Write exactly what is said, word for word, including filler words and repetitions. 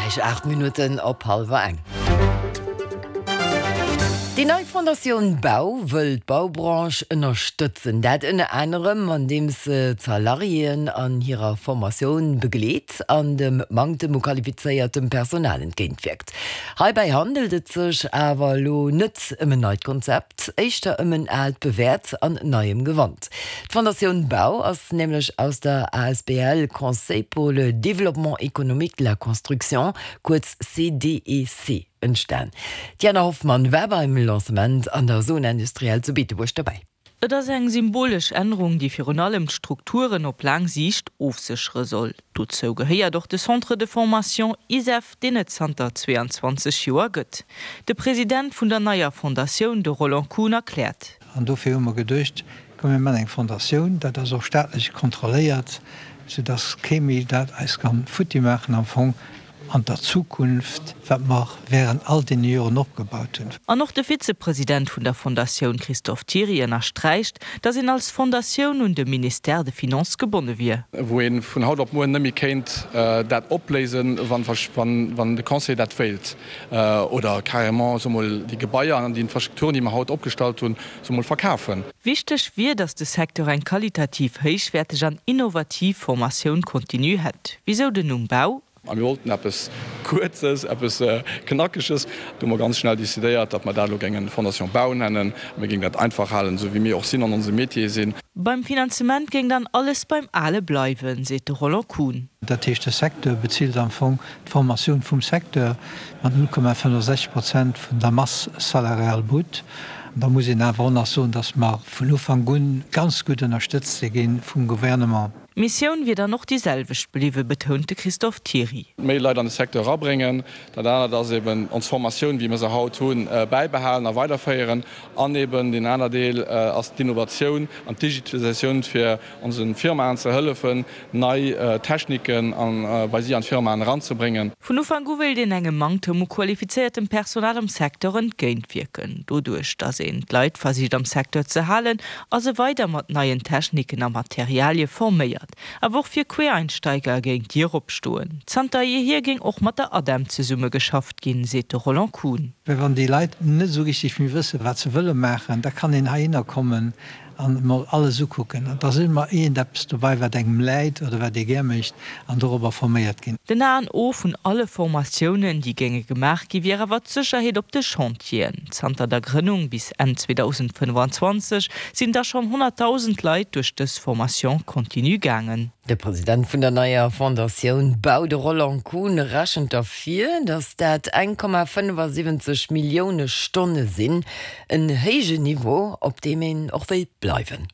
Gläich aacht Minutten op hallwer eng. Déi nei Fondatioun Bau wëll d'Baubranche ënnerstëtzen. Dat ënner anerem andeems se d'Salariéen an hirer Formatioun begleet an dem Manktem u qualifizéiertem Personal entgéintwierkt. Heibäi handelt et sech awer elo net ëm en neit Konzept, éischter ëm en aalt bewäert an neiem Gewand. D'Fondatioun Bau ass nämlech aus der asbl Conseil pour le développement économique de la construction, kuerz CDEC, entstan. D'Jana Hoffmann war beim Lancement an der Zone industrielle zu Beetebuerg dobäi. Et ass eng symbolesch Ännerung, déi virun allem d'Strukturen op laang Siicht ofséchere soll. Dozou gehéiert och de Centre de formation ISEF, deen et zanter zweeanzwanzeg Joer gëtt. De President vun der neier Fondatioun, de Roland Kuhn, erkläert. An dofir hu mer geduecht, komm mir man eng Fondatioun, dat ass och staatlech kontrolléiert, soudass kee méi dat eis kann futti maachen am Fong an der Zukunft, wat mer während all deene Joren opgebaut hunn. An och de Vizepresident vun der Fondatioun Christophe Thiry ënnersträicht, datt een als Fondatioun un de Ministère des Finances gebonne wier. Wou ee vun haut op muer net méi kéint dat opléisen, wann de Conseil dat wéilt, oder carrément, soe mol, déi Gebaier an déi Infrastrukturen, déi mer haut opgestallt hunn, soe mol, verkafen. Wichteg wier, datt de Secteur eng qualitativ héichwäerteg an innovativ Formatioun continue hätt. Wisou den Numm Bau? A mir wollten eppes Kuerzes, eppes Knackeges. Do hu mer ganz schnell decidéiert, datt mer dat elo géingen Fondation Bau nennen. Mir géingen dat einfach halen, esou wéi mir och sinn an onsem Metier sinn. Beim Finanzement géing dann alles beim Ale bleiwen, seet de Roland Kuhn. Dat heescht, de Secteur bezilt am Fong d'Formatioun vum Secteur mat null Komma fënnefsechzeg Prozent vun der Masse salariale brute. An da muss een awer och nach soen, datt mer vun Ufank un ganz gutt ënnerstëtzt si gi vum Gouvernement. D'Missioun wier dann och déi selwecht bliwwen, betount de Christophe Thiry. Méi Leit an de Secteur erabréngen. Dat anert ass eben ons Formatioun, wéi mir se haut hunn, bäibehalen a weiderféieren. An eben deen aner Deel ass d'Innovatioun an d'Digitalisatioun, fir onse Firmaen ze hëllefen, nei Techniken bei si an d'Firmaen eranzebréngen. Vun Ufank u wéilt een engem Manktem u qualifizéiertem Personal am Secteur entgéintwierken, doduerch datt een d'Leit versicht am Secteur ze halen a se weider mat neien Techniken a Materialie forméiert. Awer och fir Quereinsteiger géing d'Dier opstoen. Zanter jeehier géing och mat der ADEM zesummegeschafft ginn, seet de Roland Kuhn. Well wann déi Leit net esou richtig méi wëssen, wat se wëlle maachen, da kann een heihinner kommen an emol alles ukucken. An da ass ëmmer iergendeppes dobei, wat engem läit oder wat ee gär mécht an dorobber forméiert ginn. Den A an O vun alle Formatiounen, déi géinge gemaach gi wier awer d'Sécherheet op de Chantieren. Zanter der Grënnung bis Enn zweedausendfënnefanzwanzeg sinn der schonn honnertdausend Leit duerch dës Formation continue gaangen. De President vun der neier Fondatioun Bau, de Roland Kuhn, rechent derfir, datt dat eng Komma fënnefasiwwenzeg Millioune Stonne sinn, en héijen Niveau, op deem een och wéilt bleiwen.